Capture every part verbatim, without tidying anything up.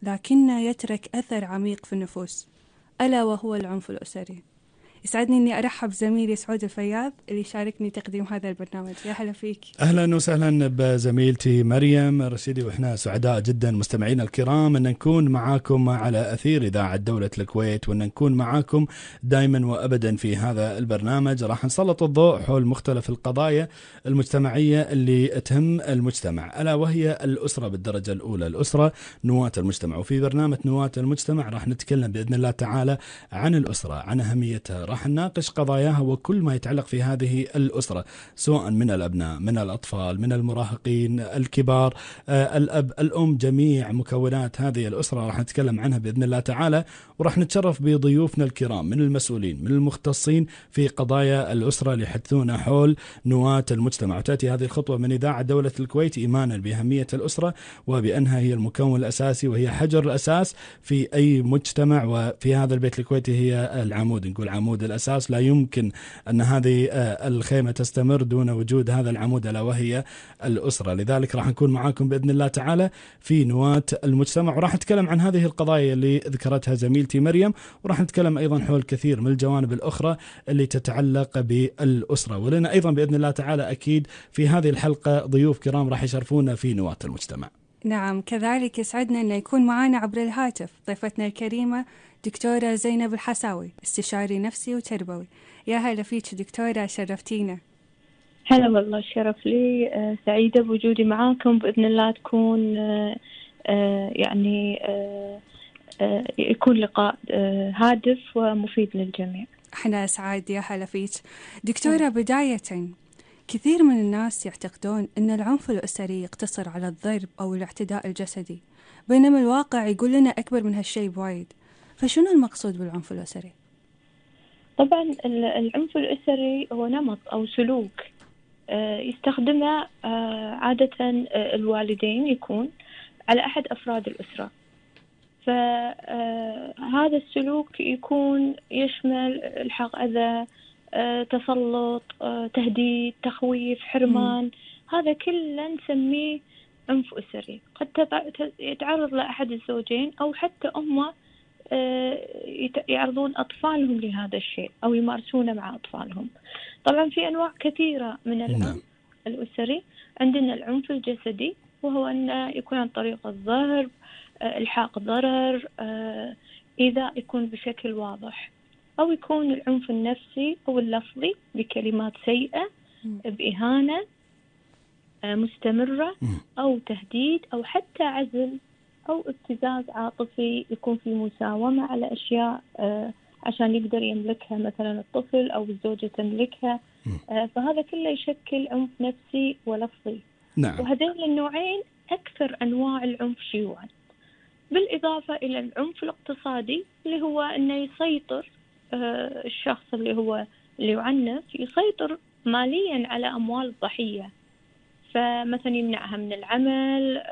لكنه يترك أثر عميق في النفوس، ألا وهو العنف الأسري. يسعدني أني أرحب زميلي سعود الفياض اللي يشاركني تقديم هذا البرنامج. يا هلا فيك. أهلا وسهلا بزميلتي مريم رشيدي، وإحنا سعداء جدا مستمعينا الكرام أن نكون معاكم على أثير إذاعة دولة الكويت، وأن نكون معاكم دائما وأبدا في هذا البرنامج. راح نسلط الضوء حول مختلف القضايا المجتمعية اللي تهم المجتمع، ألا وهي الأسرة بالدرجة الأولى. الأسرة نواة المجتمع، وفي برنامج نواة المجتمع راح نتكلم بإذن الله تعالى عن الأسرة، عن أهميتها، راح نناقش قضاياها وكل ما يتعلق في هذه الأسرة، سواء من الأبناء، من الأطفال، من المراهقين، الكبار، آه، الأب، الأم، جميع مكونات هذه الأسرة راح نتكلم عنها بإذن الله تعالى. وراح نتشرف بضيوفنا الكرام من المسؤولين، من المختصين في قضايا الأسرة اللي يحدثون حول نواة المجتمع. وتأتي هذه الخطوة من إذاعة دولة الكويت إيمانا بأهمية الأسرة، وبأنها هي المكون الأساسي وهي حجر الأساس في أي مجتمع، وفي هذا البيت الكويتي هي العمود، نقول عمود الأساس. لا يمكن أن هذه الخيمة تستمر دون وجود هذا العمود، ألا وهي الأسرة. لذلك راح نكون معاكم بإذن الله تعالى في نواة المجتمع، وراح نتكلم عن هذه القضايا اللي ذكرتها زميلتي مريم، وراح نتكلم أيضا حول كثير من الجوانب الأخرى اللي تتعلق بالأسرة. ولنا أيضا بإذن الله تعالى أكيد في هذه الحلقة ضيوف كرام راح يشرفونا في نواة المجتمع. نعم، كذلك يسعدنا أن يكون معنا عبر الهاتف ضيفتنا الكريمة دكتورة زينب الحساوي، استشاري نفسي وتربوي. يا هلا فيك دكتورة، شرفتينا. هلا والله، الشرف لي. آه سعيدة بوجودي معاكم، بإذن الله تكون آه آه يعني آه آه يكون لقاء آه هادف ومفيد للجميع. احنا سعيد. يا هلا فيك دكتورة. بداية، كثير من الناس يعتقدون أن العنف الأسري يقتصر على الضرب أو الاعتداء الجسدي، بينما الواقع يقول لنا أكبر من هالشيء بوايد. فشنو المقصود بالعنف الأسري؟ طبعا العنف الأسري هو نمط أو سلوك يستخدمه عادة الوالدين، يكون على أحد أفراد الأسرة. فهذا السلوك يكون يشمل إلحاق أذى، تسلط، تهديد، تخويف، حرمان. م. هذا كله نسميه عنف أسري. قد يتعرض لأحد الزوجين أو حتى هم يعرضون أطفالهم لهذا الشيء أو يمارسونه مع أطفالهم. طبعا في أنواع كثيرة من العنف الأسري. عندنا العنف الجسدي، وهو أن يكون عن طريق الضرب، إلحاق ضرر، إيذاء يكون بشكل واضح، أو يكون العنف النفسي أو اللفظي بكلمات سيئة، بإهانة مستمرة، أو تهديد، أو حتى عزل أو ابتزاز عاطفي، يكون في مساومة على أشياء عشان يقدر يملكها مثلا الطفل أو الزوجة تملكها. فهذا كله يشكل عنف نفسي ولفظي. نعم. وهذين النوعين أكثر أنواع العنف شيوعا، بالإضافة إلى العنف الاقتصادي اللي هو أنه يسيطر الشخص اللي هو اللي يعنف، يسيطر ماليا على أموال الضحية. فمثلا يمنعها من العمل،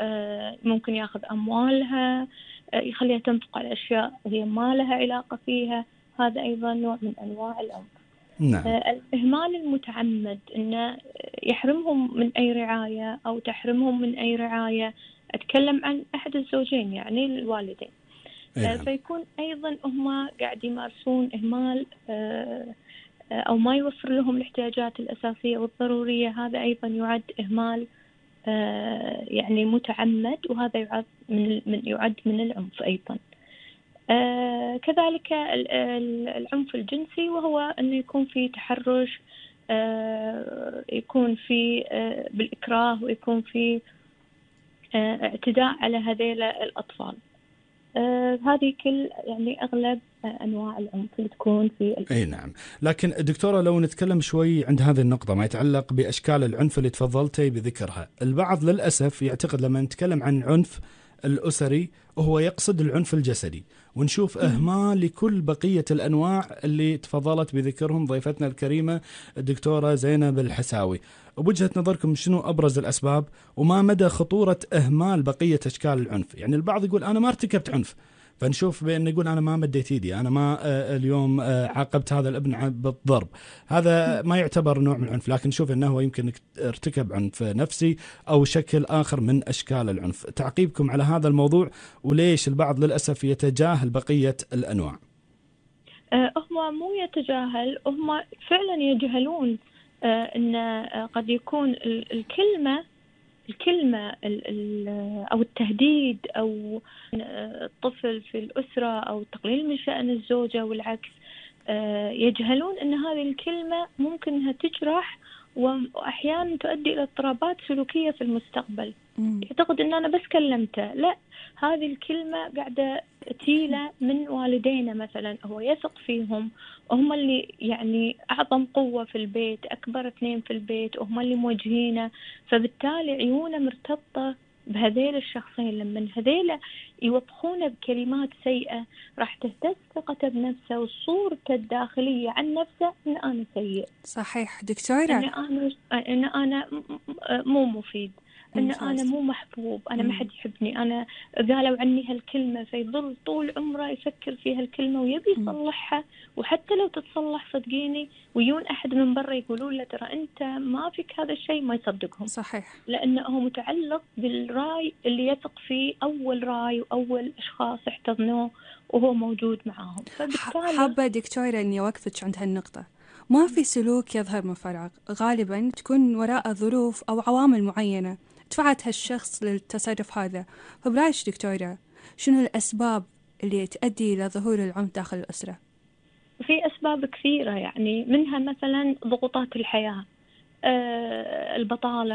ممكن ياخذ أموالها، يخليها تنفق على أشياء هي ما لها علاقة فيها. هذا أيضا نوع من أنواع العنف. نعم. الإهمال المتعمد، إنه يحرمهم من أي رعاية أو تحرمهم من أي رعاية. أتكلم عن أحد الزوجين يعني الوالدين. نعم. فيكون أيضا هم قاعد يمارسون إهمال أو ما يوفر لهم الاحتياجات الأساسية والضرورية. هذا أيضا يعد إهمال يعني متعمد، وهذا يعد من من يعد من العنف أيضا. كذلك العنف الجنسي، وهو أنه يكون في تحرش، يكون في بالإكراه، ويكون في اعتداء على هذيل الأطفال. آه هذه كل يعني أغلب آه أنواع العنف اللي تكون في الأسرة. أي نعم. لكن دكتورة لو نتكلم شوي عند هذه النقطة ما يتعلق بأشكال العنف اللي تفضلتي بذكرها، البعض للأسف يعتقد لما نتكلم عن العنف الأسري وهو يقصد العنف الجسدي، ونشوف إهمال لكل بقية الأنواع اللي تفضلت بذكرهم ضيفتنا الكريمة الدكتورة زينب الحساوي. وبوجهة نظركم شنو أبرز الأسباب وما مدى خطورة إهمال بقية أشكال العنف؟ يعني البعض يقول أنا ما ارتكبت عنف، فنشوف بأن يقول أنا ما مديت إيدي، أنا ما اليوم عاقبت هذا الابن بالضرب، هذا ما يعتبر نوع من العنف، لكن نشوف أنه هو يمكن ارتكب عنف نفسي أو شكل آخر من أشكال العنف. تعقيبكم على هذا الموضوع، وليش البعض للأسف يتجاهل بقية الأنواع؟ هم مو يتجاهل، هم فعلا يجهلون أن قد يكون الكلمة الكلمة أو التهديد أو الطفل في الأسرة أو تقليل من شأن الزوجة والعكس، يجهلون أن هذه الكلمة ممكن أنها تجرح وأحيانا تؤدي إلى اضطرابات سلوكية في المستقبل. يعتقد أن أنا بس كلمته، لا، هذه الكلمة قاعدة تيلة من والدينا مثلا، هو يثق فيهم وهم اللي يعني أعظم قوة في البيت، أكبر اثنين في البيت وهم اللي موجهينه، فبالتالي عيونه مرتبطة بهذيل الشخصين. لما هذيل يوبخونه بكلمات سيئة راح تهتز ثقته بنفسه وصورته الداخلية عن نفسه إن أنا سيء. صحيح دكتورة، إن أنا إن أنا مو مفيد، أن أنا مو محبوب، أنا ما حد يحبني، أنا قالوا عني هالكلمة، فيظل طول عمره يفكر في هالكلمة ويبي يصلحها، وحتى لو تتصلح صدقيني ويون أحد من برا يقولون له ترى أنت ما فيك هذا الشيء، ما يصدقهم. صحيح، لأنه متعلق بالرأي اللي يثق فيه، أول رأي وأول أشخاص احتضنوه وهو موجود معاهم. فبالتالي حابة دكتورة أني أوقفك عند هالنقطة. ما في سلوك يظهر من فراغ، غالبا تكون وراء ظروف أو عوامل معينة دفعت هالشخص للتصرف هذا. فبرايش دكتورة، شنو الأسباب اللي تؤدي إلى ظهور العنف داخل الأسرة؟ في أسباب كثيرة، يعني منها مثلا ضغوطات الحياة، آه البطالة،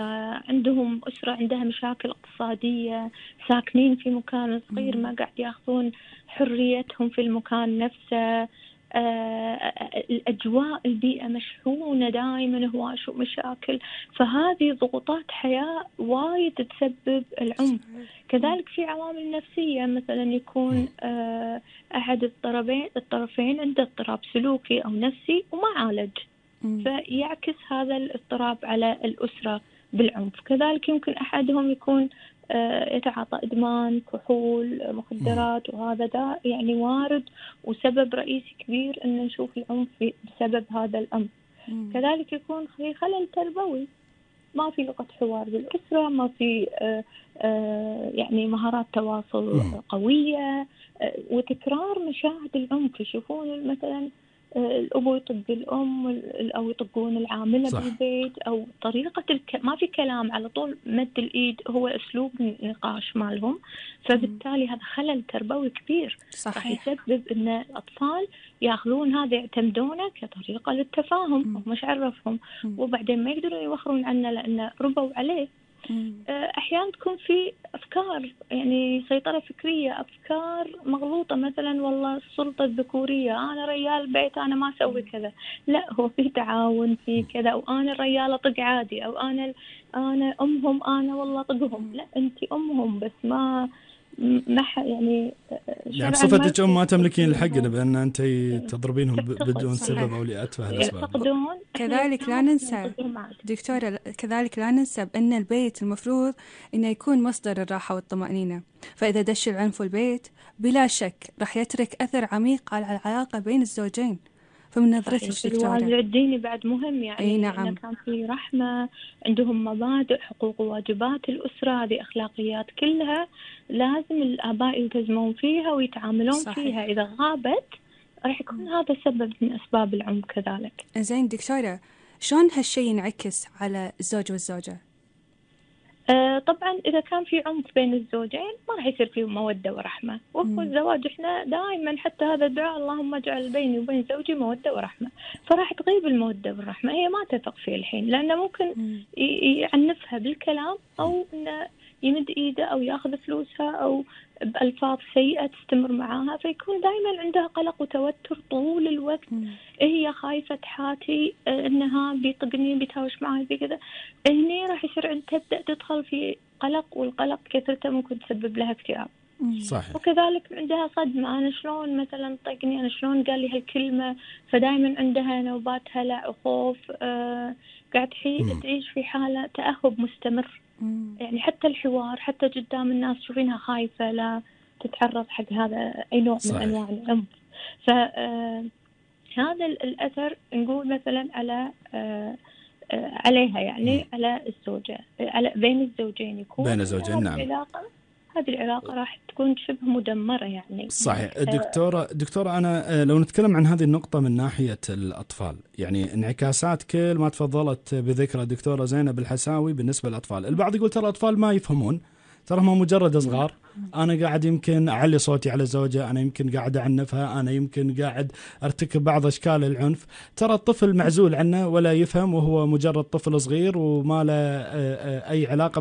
عندهم أسرة عندها مشاكل اقتصادية، ساكنين في مكان صغير، ما قاعد ياخذون حريتهم في المكان نفسه، آه الأجواء البيئة مشحونة دائما هواش ومشاكل، فهذه ضغوطات حياة وايد تسبب العنف. كذلك في عوامل نفسية، مثلا يكون آه أحد الطرفين الطرفين عنده اضطراب سلوكي أو نفسي وما عالج، فيعكس هذا الاضطراب على الأسرة بالعنف. كذلك يمكن أحدهم يكون يتعاطى إدمان كحول مخدرات، وهذا ده يعني وارد وسبب رئيسي كبير أن نشوف العنف بسبب هذا الأمر. كذلك يكون في خلل تربوي، ما في لغة حوار بالأسرة، ما في يعني مهارات تواصل قوية، وتكرار مشاهد العنف. يشوفون مثلا الأبو يطق الأم أو يطقون العاملة صح. بالبيت، أو طريقة الك... ما في كلام، على طول مد الإيد هو أسلوب النقاش مالهم، فبالتالي هذا خلل تربوي كبير راح يسبب أن الأطفال يأخذون هذا يعتمدونه كطريقة للتفاهم، ومش عرفهم، وبعدين ما يقدرون يوخرون عنه لأنه ربوا عليه. أحيانا تكون في أفكار، يعني سيطرة فكرية، أفكار مغلوطة، مثلا والله السلطة الذكورية، أنا رجال بيت أنا ما أسوي كذا، لا، هو في تعاون في كذا، وأنا الرجال أطق عادي، أو أنا أنا أمهم أنا والله أطقهم، لا، أنت أمهم بس ما ما يعني يعني بصفتك أم ما تملكين الحق بأن أنت تضربينهم بدون سبب أو لأتفه الأسباب. كذلك لا ننسى دكتورة، كذلك لا ننسى بأن البيت المفروض أنه يكون مصدر الراحة والطمأنينة، فإذا دش العنف البيت بلا شك راح يترك أثر عميق على العلاقة بين الزوجين. فمن نظرتك دكتورة، الوازع الديني بعد مهم، يعني أي نعم، إن كان في رحمة، عندهم مبادئ، حقوق وواجبات الأسرة، هذه أخلاقيات كلها لازم الآباء يلتزمون فيها ويتعاملون صحيح. فيها. إذا غابت راح يكون هذا سبب من أسباب العنف كذلك. زين دكتورة، شلون هالشيء ينعكس على الزوج والزوجة؟ آه طبعا إذا كان في عنف بين الزوجين ما راح يصير فيه مودة ورحمة، وفي الزواج إحنا دائما حتى هذا الدعاء اللهم اجعل بيني وبين زوجي مودة ورحمة، فراح تغيب المودة والرحمة، هي ما تثق فيه الحين، لأنه ممكن يعنفها بالكلام، أو إنه يمد إيده أو يأخذ فلوسها أو بألفاظ سيئة تستمر معاها، فيكون دائما عندها قلق وتوتر طول الوقت. هي خايفة حاتي إنها بيطقني بيتهاوش معي بكذا، هني راح يصير عند تبدأ تدخل في قلق، والقلق كثرته ممكن تسبب لها اكتئاب. صحيح. وكذلك عندها صدمة، أنا شلون مثلا طقني، أنا شلون قال لي هالكلمة، فدائما عندها نوبات هلع وخوف، آه قاعد تعيش في حالة تأهب مستمر. يعني حتى الحوار، حتى قدام الناس تشوفينها خايفة، لا تتعرض حق هذا أي نوع صحيح. من أنواع العنف. فهذا الأثر نقول مثلا على عليها يعني م. على الزوجة، على بين الزوجين يكون بين الزوجين. نعم. العلاقة هذه العلاقة راح تكون شبه مدمرة يعني. صحيح. دكتورة دكتورة أنا لو نتكلم عن هذه النقطة من ناحية الأطفال، يعني انعكاسات كل ما تفضلت بذكرى دكتورة زينب الحساوي بالنسبة للأطفال. البعض يقول ترى الأطفال ما يفهمون، ترى هم مجرد صغار، أنا قاعد يمكن أعلي صوتي على الزوجة، أنا يمكن قاعد أعنفها، أنا يمكن قاعد أرتكب بعض أشكال العنف. ترى الطفل معزول عنه ولا يفهم، وهو مجرد طفل صغير وما له أي علاقة